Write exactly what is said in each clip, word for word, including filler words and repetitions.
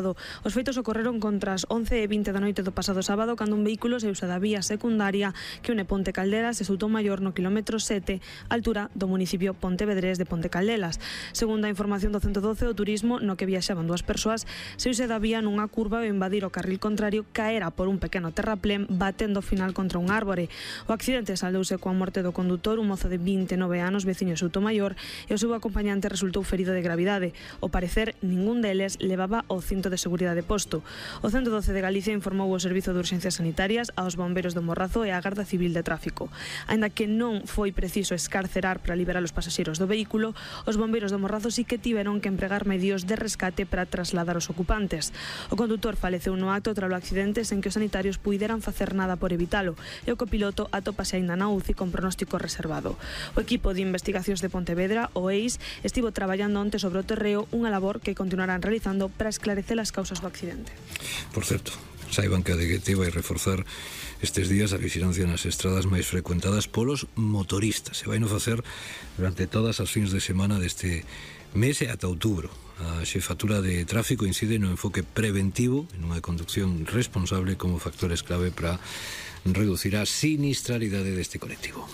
Estado. Os feitos ocorreron contra as once e vinte da noite do pasado sábado, cando un vehículo se usa da vía secundaria que une Ponte Caldelas e Soutomaior no quilómetro sete, altura do municipio pontevedrés de Ponte Caldelas. Segundo a información do ciento doce, o turismo no que viaxaban dúas persoas se use da vía nunha curva e invadir o carril contrario caera por un pequeno terraplén batendo final contra un árbore. O accidente saldouse coa morte do condutor, un mozo de vinte e nove anos, veciño de Soutomaior, e o seu acompañante resultou ferido de gravidade. Ao parecer, ningún deles levaba o cinto de seguridade posto. O ciento doce de Galicia informou o Servizo de Urxencias Sanitarias aos bombeiros do Morrazo e á Garda Civil de Tráfico. Aínda que non foi preciso escarcerar para liberar os pasaxeiros do vehículo, os bombeiros do Morrazo sí que tiveron que empregar medios de rescate para trasladar os ocupantes. O condutor faleceu no acto tralo accidente sen que os sanitarios puideran facer nada por evitalo, e o copiloto atópase aínda na U C I con pronóstico reservado. O equipo de investigacións de Pontevedra, o E I S, estivo traballando onte sobre o terreo, unha labor que continuarán realizando para esclarecer as causas do accidente. Por certo, saiban que a D G T vai reforzar estes días a vigilancia nas estradas máis frecuentadas polos motoristas. Se vai no facer durante todas as fins de semana deste mes e ata outubro. A xefatura de tráfico incide no enfoque preventivo en unha conducción responsable como factores clave para reducir a sinistralidade deste colectivo.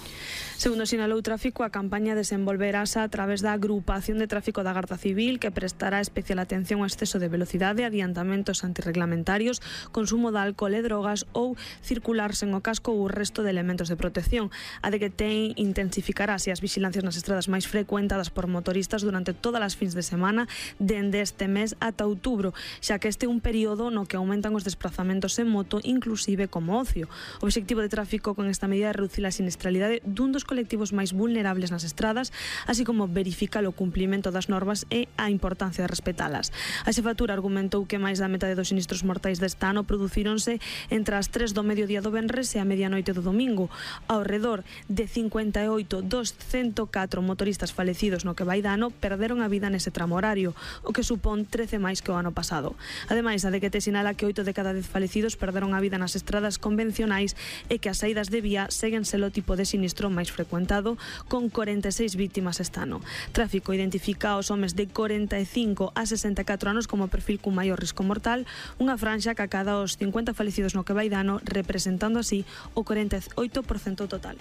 Segundo sinalou Tráfico, a campaña desenvolverase a través da agrupación de tráfico da Garda Civil, que prestará especial atención ao exceso de velocidade, adiantamentos antirreglamentarios, consumo de alcohol e drogas ou circular sen o casco ou o resto de elementos de protección. A D G T intensificará as vigilancias nas estradas máis frecuentadas por motoristas durante todas as fins de semana dende este mes ata outubro, xa que este é un período no que aumentan os desplazamentos en moto, inclusive como ocio. O obxectivo de Tráfico con esta medida é reducir a sinistralidade dun dos colectivos máis vulnerables nas estradas, así como verificar o cumprimento das normas e a importancia de respetalas. A xefatura argumentou que máis da metade dos sinistros mortais deste ano producíronse entre as tres do mediodía do venres e a medianoite do domingo. Ao redor de cincuenta e oito dos ciento catro motoristas falecidos no que vai de ano perderon a vida nese tramo horario, o que supón trece máis que o ano pasado. Ademais, a D G T sinala que oito de cada dez falecidos perderon a vida nas estradas convencionais e que as saídas de vía seguen selo tipo de sinistro máis frecuentado, con corenta e seis vítimas este ano. Tráfico identifica os homes de corenta e cinco a sesenta e catro anos como perfil cun maior risco mortal, unha franxa que acada os cincuenta falecidos no que vai de ano, representando así o corenta e oito por cento total.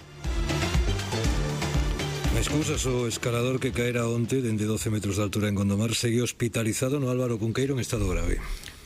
Máis cousas, o escalador que caera onte dende doce metros de altura en Gondomar segue hospitalizado no Álvaro Cunqueiro en estado grave.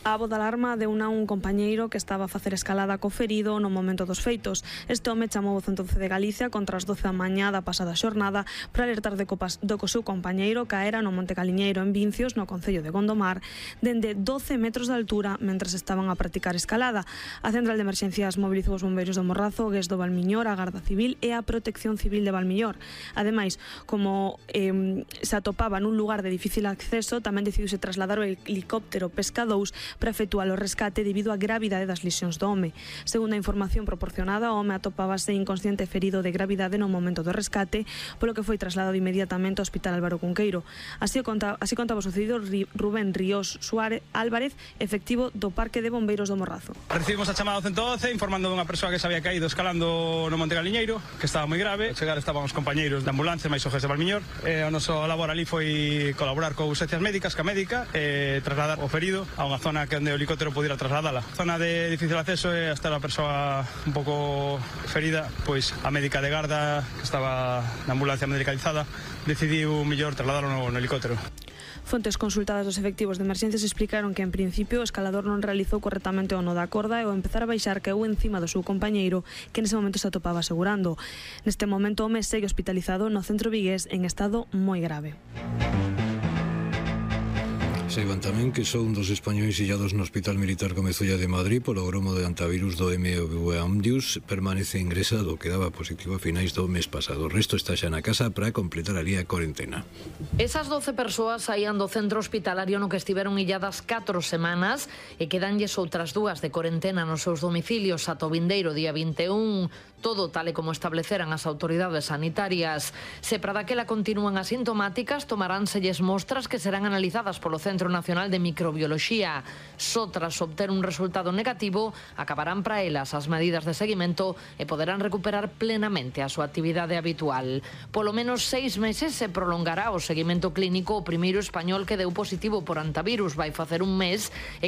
A voz de alarma deu a un compañeiro que estaba a facer escalada co ferido no momento dos feitos. Este home chamou o ciento doce de Galicia contra as doce da mañá da pasada xornada para alertar de copas do que o seu compañeiro caera no Monte Caliñeiro en Vincios, no concello de Gondomar, dende doce metros de altura mentres estaban a practicar escalada. A Central de Emerxencias mobilizou os bombeiros do Morrazo, o Gués do Valmiñor, a Garda Civil e a Protección Civil de Valmiñor. Ademais, como eh, se atopaba nun lugar de difícil acceso, tamén decidiuse trasladar o helicóptero Pesca dous para efectuar o rescate debido á gravidade das lesións do home. Segundo a información proporcionada, o home atopábase inconsciente e ferido de gravidade no momento do rescate, polo que foi trasladado inmediatamente ao Hospital Álvaro Cunqueiro. Así, conta, así contaba o sucedido Rubén Ríos Suárez Álvarez, efectivo do Parque de Bombeiros do Morrazo. Recibimos a chamada do ciento doce informando dunha persoa que se había caído escalando no Monte Caliñeiro, que estaba moi grave. Ao chegar estaban os compañeiros de ambulancia máis o Gués de Valmiñor. E o noso labor ali foi colaborar con urxencias médicas, ca médica, e trasladar o ferido a unha zona que onde o helicóptero pudiera trasladala. Zona de difícil acceso e hasta a persoa un pouco ferida, pois a médica de garda que estaba na ambulancia medicalizada decidiu mellor trasladalo no, no helicóptero. Fontes consultadas dos efectivos de emerxencias explicaron que en principio o escalador non realizou correctamente o nó da corda e ao empezar a baixar caeu encima do seu compañeiro que nese momento se atopaba asegurando. Neste momento o home segue hospitalizado no centro vigués en estado moi grave. Saiban tamén que só un dos españois illados no Hospital Militar Comezulla de Madrid polo gromo de antivirus do M V Amdius permanece ingresado, que daba positivo a finais do mes pasado. O resto está xa na casa para completar ali a corentena. Esas doce persoas saían do centro hospitalario no que estiveron illadas catro semanas e quedanlles outras dúas de corentena nos seus domicilios ata o vindeiro día vinte e un. Todo tal e como estableceran as autoridades sanitarias. Se para daquela continúan asintomáticas, tomaránselles mostras que serán analizadas polo Centro Nacional de Microbioloxía. Só tras obter un resultado negativo, acabarán para elas as medidas de seguimento e poderán recuperar plenamente a súa actividade habitual. Polo menos seis meses se prolongará o seguimento clínico. O primeiro español que deu positivo por antivirus vai facer un mes e que